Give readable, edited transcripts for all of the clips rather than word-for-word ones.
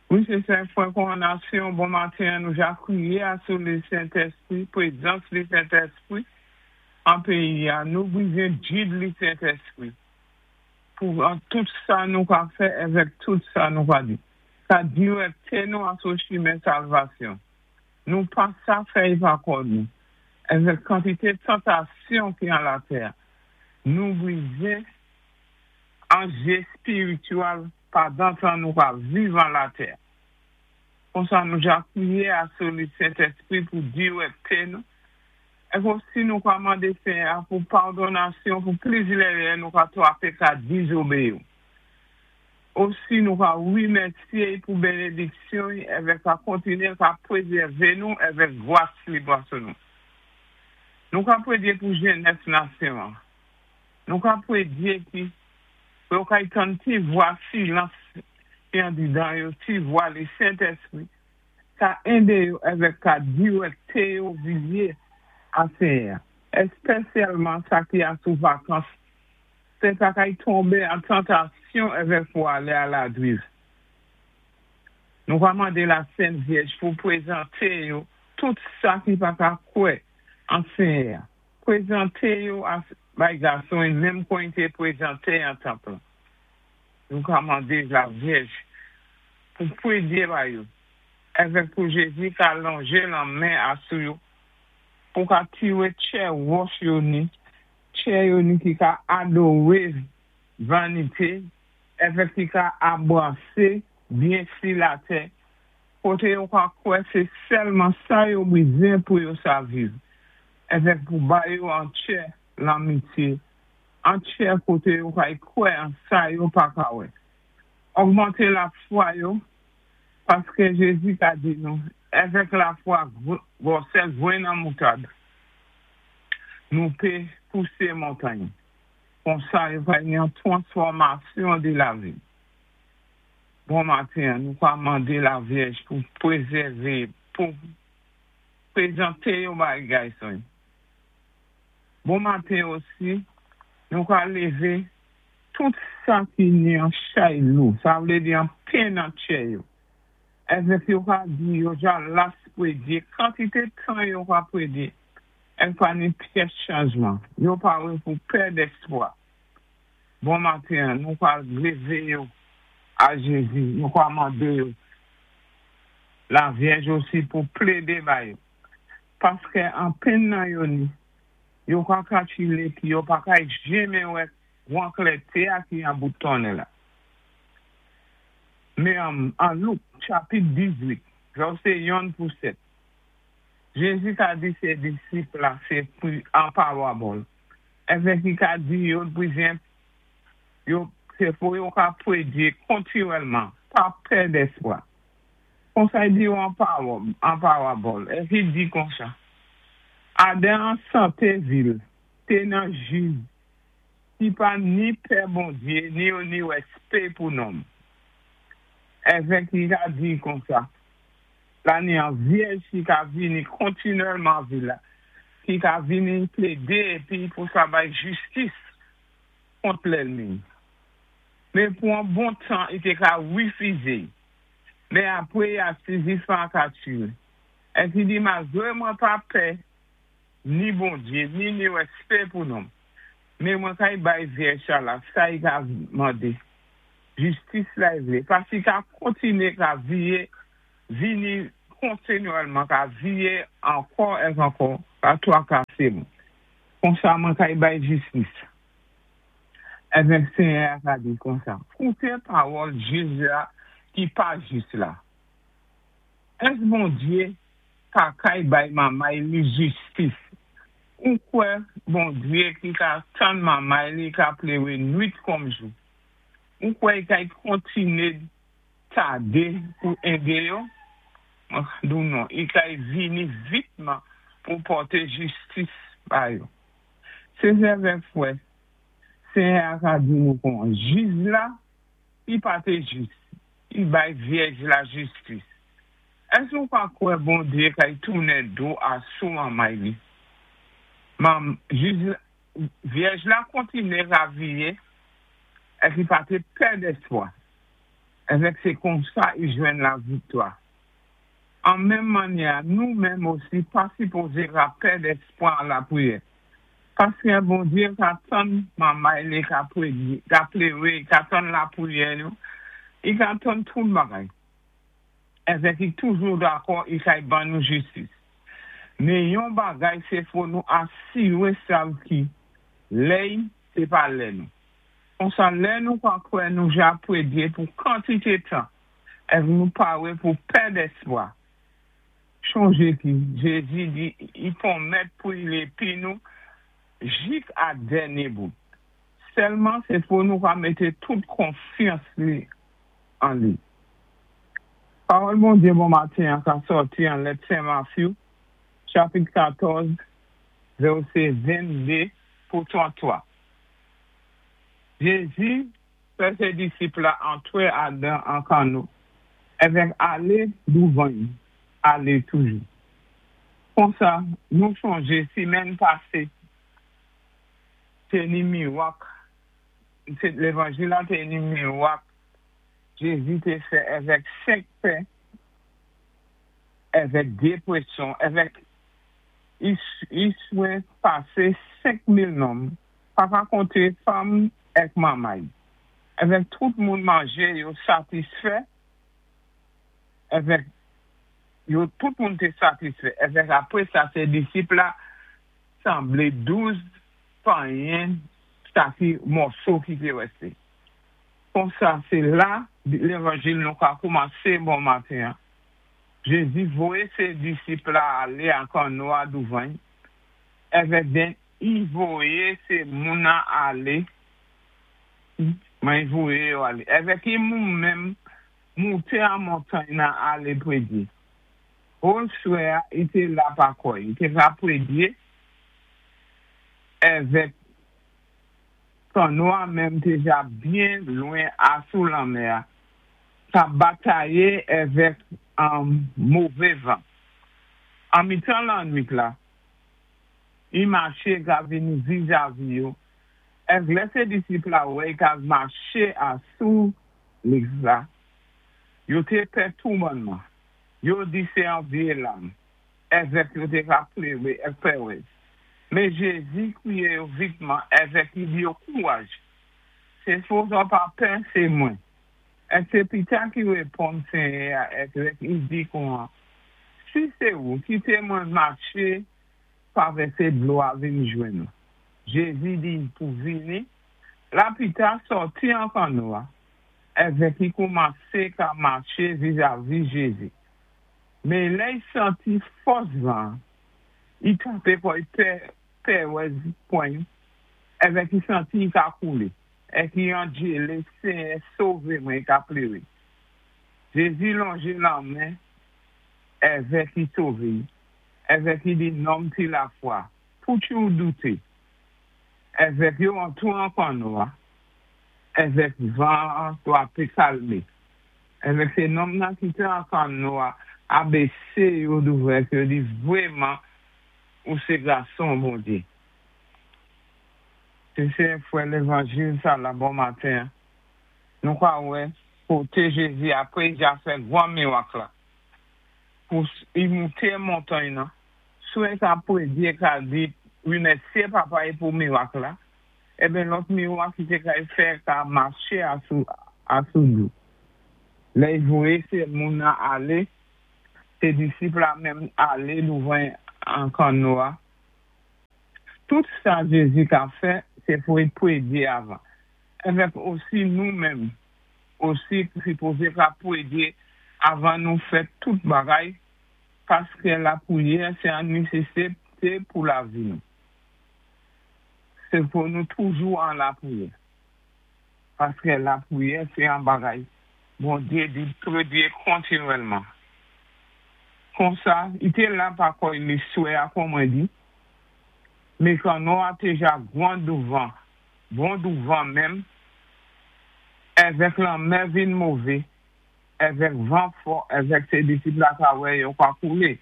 Wi, sé sa, frè Kòwonasyon, bon maten, nou ja kwiyé asou le Sentèspwi, pwézans le Sentèspwi an péyi-a. Nou bizwen gid le Sentèspwi pou an tout sa nou ka fè èvèk tout sa nou ka di. Ka diwèkté nou asou chimen salvasyon. Nou pa sa fè-y pa kò nou. Èvèk kantité tantasyon ki an latè, nou bizwen an jé éspirityèl pandan tan nou ka viv an latè. Konsa nou ja kwiyé asou le Sentèspwi pou diwèkté nou. Èk osi nou ka mandé Senyè pou padonasyon pou plis lèrè nou ka twapé ka dizobéyi. Osi nou ka wimèsyé pou bénédiksyon èvèk ka kontiné ka pwézèvé nou èvèk gwas li ba sou nou. Nou ka pwédyé pou jènès nasyon. Nou ka pwédyé ki yo kay tann ti vwa silans ki andidan yo, ti vwa le Sentèspwi, ka édé yo èvèk ka diwèkté yo viyé a Senyè. Èspésyèlman sa ki asou vakans, sé pa kay tonbé an tantasyon èvèk pou alé a la driv. Nou ka mandé la Sent Vyèj pou pwézanté yo tout sa ki pa ka kwè an Senyè. Pwézanté yo a bay gason menm kon i té pwézanté an tanp lan. Nou ka mandé la Vyèj pou pwédyé ba yo, èvèk pou Jézi ka lonjé lanmen asou yo, pou ka tiwé tchè wòch yo ni, tchè yo ni ki ka adowé vanité, èvèk ki ka anbrasé byen si latè, koté yo ka kwè sé sèlman sa yo bizwen pou yo sa viv, èvèk pou ba yo an tchè lanmityé, an tchè koté yo kay kwè an sa yo pa ka wè. Ogmanté lafwa yo, paské Jézi ka di nou, èvèk lafwa gwòsè gwenn an moutad, nou pé pousé montagn. Konsa yo va yon twansfòmasyon di lavi. Bon maten, nou ka mandé la Vyèj pou pwézèvé, pou pwézanté yo bay gason. Bon maten osi, nou ka lévé tout sa ki ni an chay lou, sa vlé di an penn an tchè yo. Èvèk yo ka di yo ja las pwédyé, kantité tan yo ka pwédyé, èk pa ni pyès chanjman, yo pawé pou pèd èspwa. Bon maten, nou ka lévé yo a Jézi, nou ka mandé yo la Vyèj osi pou plédé ba yo. Paské an penn nan yo ni, yo ka kalkilé ki yo pa kay jenmen wè gwan klèté a ki an bout tonnèl la. Mé an, an Louk, chapit 18, vèsé 1 pou 7, Jézi ka di sé disip la sé pou an pawabòl. Èvèk i ka di yo bizwen yo sé pou yo ka pwédyé kontiwèlman, pa pèd èspwa. Konsa i di yo an pawòl, an pawabòl. Èk i di konsa, Adan an santé vil, té ni an jij ki pa ni pè Bondyé, ni yo ni wèspé pou nonm. Èvèk i ka di konsa, la ni an vyèj ki ka vini kontinwèlman vil la, ki ka vini plédé épi pou sa bay jistis kont lèlmi. Mé pou an bon tan, i té ka wifizé. Mé apwé ya sizisman ka tiwé. Èk i di malgwé mwen pa pè ni Bondyé, ni ni wèspé pou nonm. Mé mwen kay bay vyèj sa la, sa i ka mandé. Jistis la i vlé. Paski ka kontiné ka viyé, vini kontinyèlman, ka viyé ankò èk ankò, ka twakasé mwen. Konsa mwen kay bay jistis. Èvèk Senyè a ka di konsa. Kouté pawòl jij la ki pa jis la. Ès Bondyé pa kay bay manmay li jistis? Ou kwè Bondyé ki ka tann manmay li ka pléwé nwit kòm jou? Ou kwè i kay kontiné tadé pou édé yo? Mwen ka di ou non, i kay vini vitman pou pòté jistis ba yo. Sé zèvè fwè, Senyè a ka di nou kon jij la, i pa té jis, i bay vyèj la jistis. Ès ou pa kwè Bondyé kay tounen do asou manmay li? Mam, jij, vyèj la kontiné ka viyé, èk i pa té pèd èspwa. Èvèk sé konsa i jwenn laviktwa. An menm mannyè, nou menm osi pa sipozé ka pèd èspwa an lapriyè. Paskè Bondyé ka tann manmay li ka pwédyé, ka pléwé, i ka tann lapriyè nou, i ka tann tout bagay. Èvèk i toujou dakò i kay ban nou jistis. Mé yon bagay sé fò nou asiwé sav ki lè-y sé pa lè nou. Konsa lè nou ka kwè nou ja pwédyé pou kantité tan, èk nou pawé pou pèd èspwa. Chonjé ki Jézi di i pwonmèt pou i lépi nou jik a dènyé bout. Sèlman sé fò nou ka mété tout konfyans li an li. Pawòl Bondyé bon matin an ka sòti an lèt Sen Matthew, chapit 14, vèsé 22 pou 33. Jézi fè sé disip la antwé adan an kanno, èvèk alé douvan-y, alé toujou. Konsa nou chonjé simèn pasé té ni miwak, sé lévanjil la té ni miwak Jézi té fè èvèk senk pen èvèk dé pwéson, èvèk i swen pasé 5000 nonm, pa ka konté fanm èk manmay. Èvèk tout moun manjé yo satisfè, èvèk yo tout moun té satisfè. Èvèk apwé sa sé disip la sanblé 12 panyen sa ki mòso ki té rèsté. Konsa sé la lévanjil nou ka koumansé bon matin an. Jézi voyé sé disip la alé an kanno a douvan-y, èvèk den i voyé sé moun nan alé, man i voyé yo alé. Èvèk i moun menm mouté an montagn nan alé pwédyé. Hol swè a i té la pa kò-y, i té ka pwédyé èvèk kanno a menm té ja byen lwen asou lanmè a, ka batayé èvèk an mové van. An mitan lannwit la, i maché ka vini vizavi yo, èk lè sé disip la wè i ka maché asou lik la, yo té pè tou bònman. Yo di sé an vyé lam, èvèk yo té ka pléwé èk pèwèz. Mé Jézi kwiyé yo vitman èvèk i di yo kouwaj, sé fò zò pa pè, sé mwen. Èk sé Pita ki wéponn Senyè a èvèk i di kouwan, Si sé ou, kité mwen maché travèsé dlo a vin jwenn ou. Jézi di-y pou vini, la Pita sòti an kanno a, èvèk i koumansé ka maché vizavi Jézi. Mé lè-y santi fòs van an, i tapé kò-y pè pèwèz pwan-y, èvèk i santi i ka koulé, èk i andjélé, Senyè, sové mwen, i ka pléwé. Jézi lonjé lanmen èvèk i sové-y, èvèk i di, Nonm ti lafwa, pouki ou douté? Èvèk yo antou an kanno a, èvèk van an twapé kalmé. Èvèk sé nonm nan ki té an kanno a abésé yo douvan èk yo di, Vwéman, ou sé gason Bondyé. Sé sè frè lévanjil sa la bon matin an, nou ka wè koté Jézi apwé i ja fè gwan miwak la, pou i mouté montagn nan, swen ka pwédyé ka di rimèsyé Papa-y pou miwak la, eben lòt miwak i té kay fè ka maché asou asou dlo. Lè i voyé sé moun nan alé, sé disip la menm alé douvan an kanno a. Tout sa Jézi ka fè, sé pou i pwédyé avan. Èvèk osi nou menm osi sipozé ka pwédyé avan nou fè tout bagay, paskè lapwiyè sé an nésésité pou lavi nou. Sé pou nou toujou an lapwiyè. Paskè lapwiyè sé an bagay Bondyé di pwédyé kontinwèlman. Konsa, i té la pa kò-y li swè a kon mwen di, mé kanno a té ja gwan douvan, bon douvan menm, èvèk lanmè vin mové, èvèk van fò, èvèk sé disip la ka wè yo ka koulé.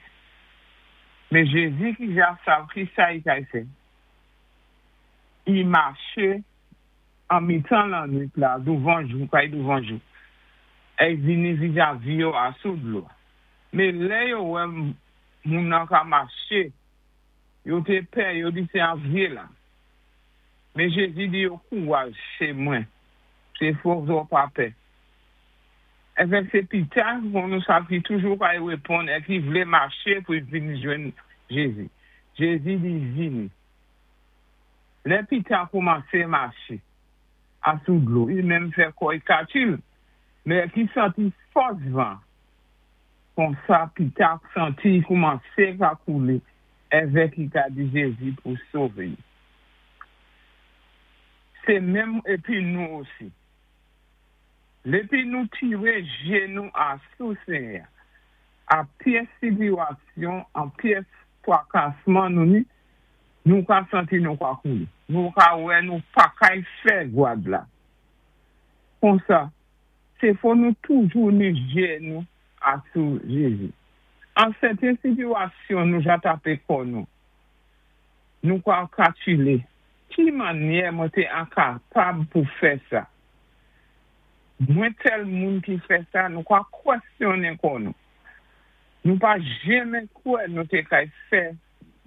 Mé Jézi ki ja sav ki sa i kay fè, i maché an mitan lannwit la douvan jou, kay douvan jou. Èk vini vizavi yo asou dlo-a. Mé lè yo wè moun-nan ka maché, yo té pè, yo di sé an vyé lam. Mé Jézi di yo, Kouwaj, sé mwen, sé fò zò pa pè. Èvèk sé Pita, kon nou sav ki toujou kay wéponn è ki vlé maché pou-y vin jwenn Jézi. Jézi di, Vini. Lè Pita koumansé maché asou dlo, i menm fè kò-y katil, mé èk i santi fòs van. Konsa Pita santi i koumansé ka koulé, èvèk i ka di Jézi pou sové-y. Sé menm épi nou osi. Lépi nou tiré jé nou asou Ségnè-a, a pyès sitiwasyon, an pyès twakasman nou ni, nou ka santi nou ka koulé. Nou ka wè nou pa kay fè gwad la. Konsa, sé fò nou toujou ni jé nou asou Jézi. An sèten sitiwasyon nou ja tapé kò nou, nou ka kalkilé, ki mannyè mwen té enkapab pou fè sa? Mwen tèl moun ki fè sa, nou ka kwèsyonnen kò nou. Nou pa jenmen kwè nou té kay fè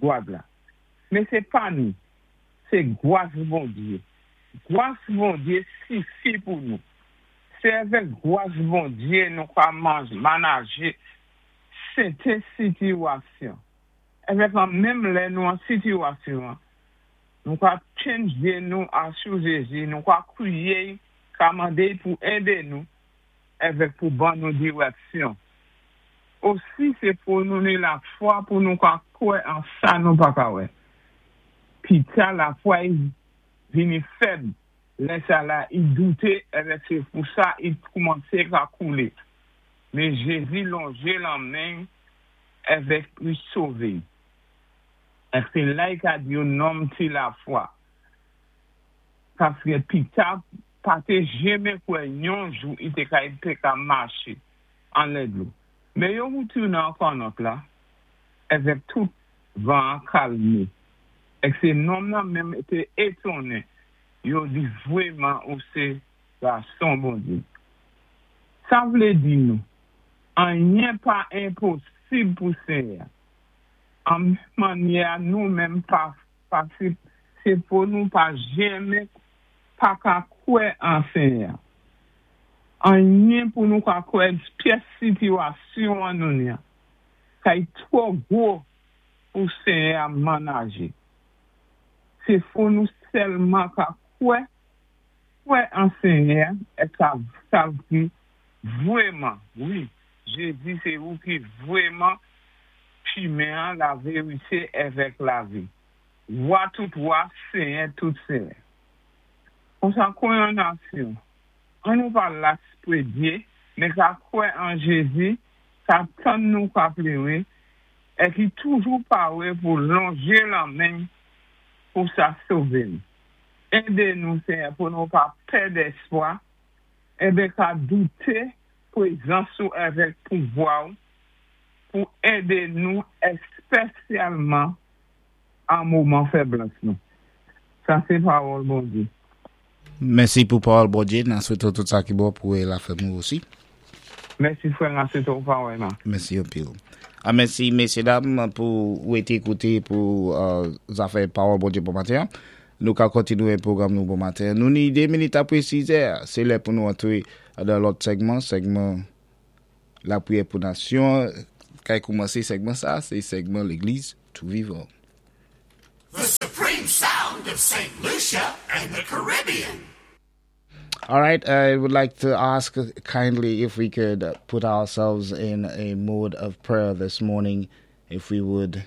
gwad la. Mé sé pa nou, sé gwas Bondyé. Gwas Bondyé sifi pou nou. Sé avèk gwas Bondyé nou ka manajé sèten sitiwasyon. Èvèk an menm lè nou an sitiwasyon, nou ka tjenn jé nou asou Jézi, nou ka kwiyé, ka mandé pou édé nou, èvèk pou ban nou diwèksyon. Osi sé pou nou ni lafwa pou nou ka kwè an sa nou pa ka wè. Pita lafwa-y vini fèb, lè sa la i douté, èvèk sé pou sa i koumansé ka koulé. Mé Jézi lonjé lanmen èvèk i sové. Èk sé la i ka di yo nonm ti lafwa. Paské Pita pa té jenmen kwè yon jou i té kay té ka maché anlè dlo. Mé yo witounen an kannòt la, èvèk tout van-an kalmé. Èk sé nonm nan menm té étonnen, yo di vwéman ou sé gason Bondyé. Sa vlé di nou, anyen pa enposib pou Ségnè. An mannyè nou menm pa fasil, sé pou nou pa jenmen pa ka kwè an Ségnè. Anyen pou nou ka kwè pyès sitiwasyon an nou ni kay twò gwo pou Ségnè a manajé. Sé fò nou sèlman ka kwè, kwè an Ségnè è ka sav ki vwéman, wi, Jézi sé ou ki vwéman chimen lavérité èvèk lavi. Wa tout wa, Ségnè tout Ségnè. Konsa kwè an nasyon, an nou pa las prédyé, mé ka kwè an Jézi, ka tann nou ka pléwé, è ki toujou pawé pou lonjé lanmen pou sa sové nou. Édé nou, Ségnè, pou nou pa pèd èspwa, enben ka douté pwézans ou avèk pouvwa ou pou édé nou èspésyalman an moman fèblès nou. Sa sé pawòl Bondyé. Mèsi pou pawòl Bondyé. N a swété tout sa ki bon pou lafanmi osi. Mèsi frè, n a swété ou pawèyman. Mèsi anpil. A mèsi mésyédam pou ou été kouté pou zafè pawòl Bondyé bon maten. Nou ka kontinwé pwogram nou bon maten. Nou ni 2 minit apwé 6 è. Sé lè pou nou antré dan lòt sègman, sègman lapriyè pou nasyon. Kay koumansé sègman sa, sé sègman Légliz Tou Vivan. The supreme sound of St. Lucia and the Caribbean. All right, I would like to ask kindly if we could put ourselves in a mode of prayer this morning, if we would.